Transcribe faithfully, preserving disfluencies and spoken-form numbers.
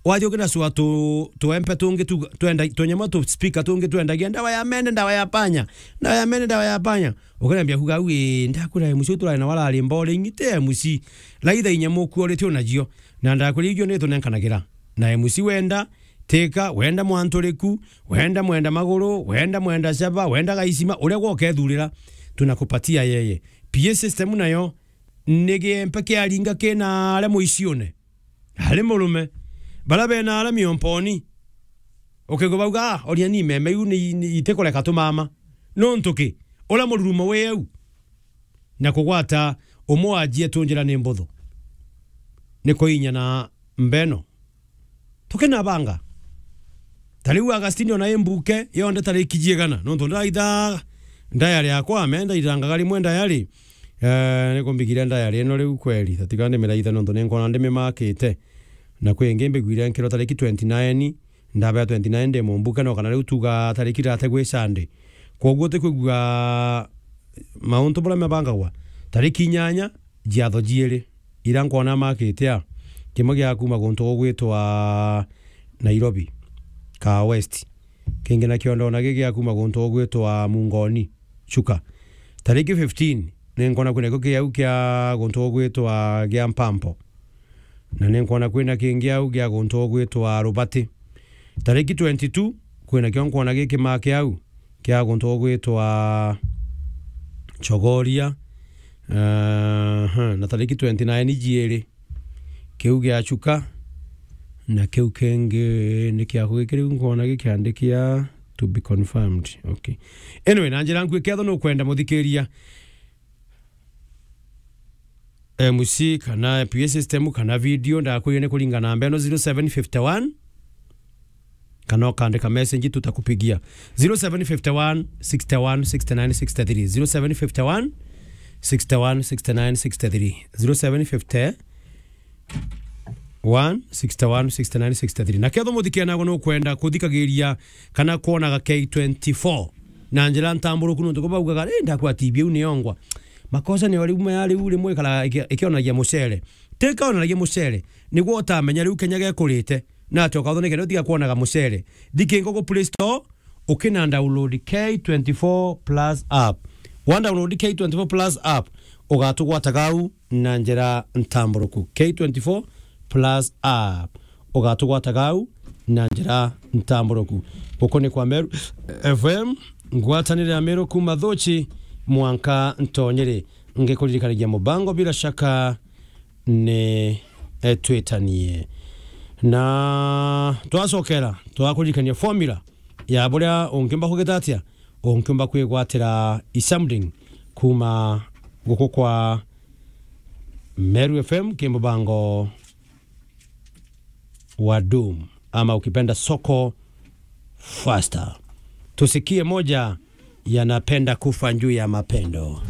Wathi ukina sua tu, tuempe tungi tu, twenda, tunyama tu speaker tungi twendagia, "Ndawa ya mene, ndawa ya panya, ndawa ya mene, ndawa ya panya." Ukanambia kuga, "Au, ii, ndakwira M C u turari na warari mbore ing'i ti M C. Laitha inya muku urite unajio." Na ndakwira igio ni tunenkanagira. Na M C wenda, tika, wenda mwanturiku, wenda mwenda maguru, wenda mwenda shaba, wenda gaisima, uria gwa ukethurira, tunakupatia yeye. P A system nayo, ni giempe kiaringa kina aria muiciune. Ari murume. Bara bena ara miomponi. Ukigwa bauga, "Ah, oria ni meme iu ni, ni itikureka tumama." Nontu ki? Uria mururumo wi au. Na kugwata umwe wa jietu njira ni mbuthu. Ni kuinya na mbeno. Tukinabanga. Ta riu Agustino na imbuke yonde tariki jiegana. Nontu ndaitha ndayari yakwa, me ndairangaga rimwe ndayari. Eh, nikumbigire ndayari ino riu kweri. Tatiga ndimiraitha nontu ninkona ndimimakite. Na kwi ingi mbigwire nkirwa tariki twenty-nine, ndabea twenty-nine ndi mumbuke, no kana riu tuga tariki thirty gwi Sunday. Kwoguo tikwigua mauntu buria mabangagwa. Tariki inyanya, jiatho jiiri, ira nkwona makite a, kimwe gia kuma guntu gugwitwa Nairobi, Kaa West. Kingi nakio ndona gi gia kuma guntu gugwitwa Mungoni, Chuka. Tariki fifteen, ni nkwona kwina kio kiau kia guntu gugwitwa gia Mpampo. Na ni nkwona kwina kingi au gia guntu gugwitwa Rubati. Tariki twenty-two, kwina kio nkwona gikimake au, kia guntu gugwitwa Chogoria. Aha, na tariki twenty-nine jiiri. Kiu gia Chuka, na kiu kingi ni kiaku giki riu nkwona gikiandikia to be confirmed. Okay. Anyway, na njira nkui ketho nukwenda muthikiria M C kana P A system kana video, ndakwire ni kuringana na mbeno zero seven fifty one, kana ukandika message tutakupigia. Zero seven fifty one, sixty one, sixty nine, sixty three. Zero seven fifty one, sixty one, sixty nine, sixty three. Zero seven fifty one, sixty one, sixty nine, sixty three. Na ketho muthikia nago nukwenda kuthikagiria kana kwonaga K twenty-four na njira ntamburuku, nontu ko baugaga, "Eh, ndakwa T V iu ni yongwa." Makosa ni o riu maya riu rimwe ikara iki-, ikionagia mucere. Ti kaonanagia mucere, niguo utamenya riu Kenya gekurite. Na ati ukathonekene utiga kwonaga mucere. Thikingo ku Play Store, ukina download K twenty-four Plus app. Wa download K twenty-four Plus app, ugatugwataga au na njira ntamburuku. K twenty-four Plus app, ugatugwataga au na njira ntamburuku. Guku ni kwa Meru F M, ngwatanire ya Meru kuma Thuchi mwanka Ntonyere. Ngikuririkanagia mubango, bila shaka ni, eh, twitanie. Na twacokera, twakuririkania formula ya buria ungiumba kugita atia, ungiumba kwigwatira e-something kuma guku kwa Meru F M, ki mubango wa Doom, ama ukipenda Soko Faster. Tusikie moja ya Napenda Kufa Juu ya Mapendo.